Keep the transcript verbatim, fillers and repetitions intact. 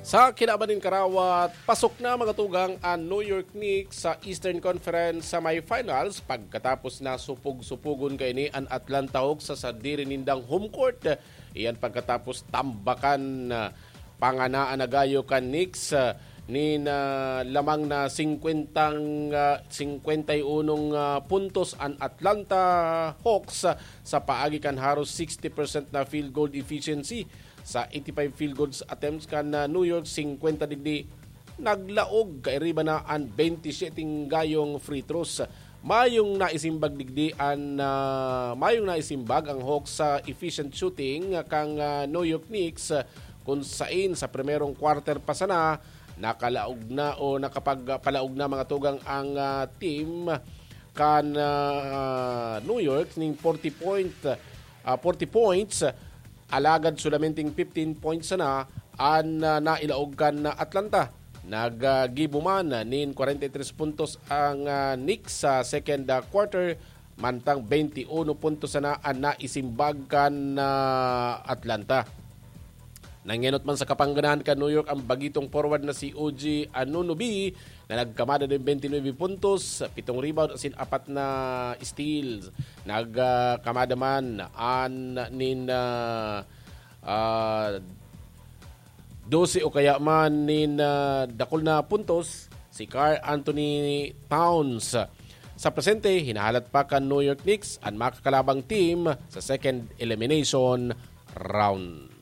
Sa kinaban nin karawat, pasok na, mga tugang, an New York Knicks sa Eastern Conference Semifinals pagkatapos na supog-supugon kaini an Atlanta Hawks sa sadiri nindang home court. Iyan pagkatapos tambakan, ah, panganaan na gayo kan Knicks, ah, nin, ah, lamang na singkwentang, ah, singkwenta y unong, ah, puntos an Atlanta Hawks, ah, sa paagi kan haros sixty percent na field goal efficiency. Sa eighty-five field goals attempts kan, ah, New York, singkwenta digdi naglaog, kairiba na an bente y siyete gayong free throws. Mayong naisimbag digdi an, ah, mayong naisimbag ang Hawks sa efficient shooting kang, ah, New York Knicks, ah, kun sain sa primerong quarter pa sana, nakalaog na o nakapagpalaog na, mga tugang, ang, ah, team kan, ah, New York ning forty point, ah, forty points. Alagad solamenteng fifteen points sana an, ah, nailaog kan Atlanta. Naggibo man nin kwarenta y tres puntos ang, ah, Knicks sa second, ah, quarter, mantang bente y uno puntos sana an naisimbag kan, ah, Atlanta. Nangenot man sa kapangganahan kan New York ang bagitong forward na si O G Anunoby, na nagkamada nin bente y nuebe puntos, pitong rebound asin apat na steals. Nagkamada man an nin, ah, ah, dose o kaya man nin, ah, dakul na puntos si Karl Anthony Towns. Sa presente, hinahalat pa kan New York Knicks an makakalabang team sa second elimination round.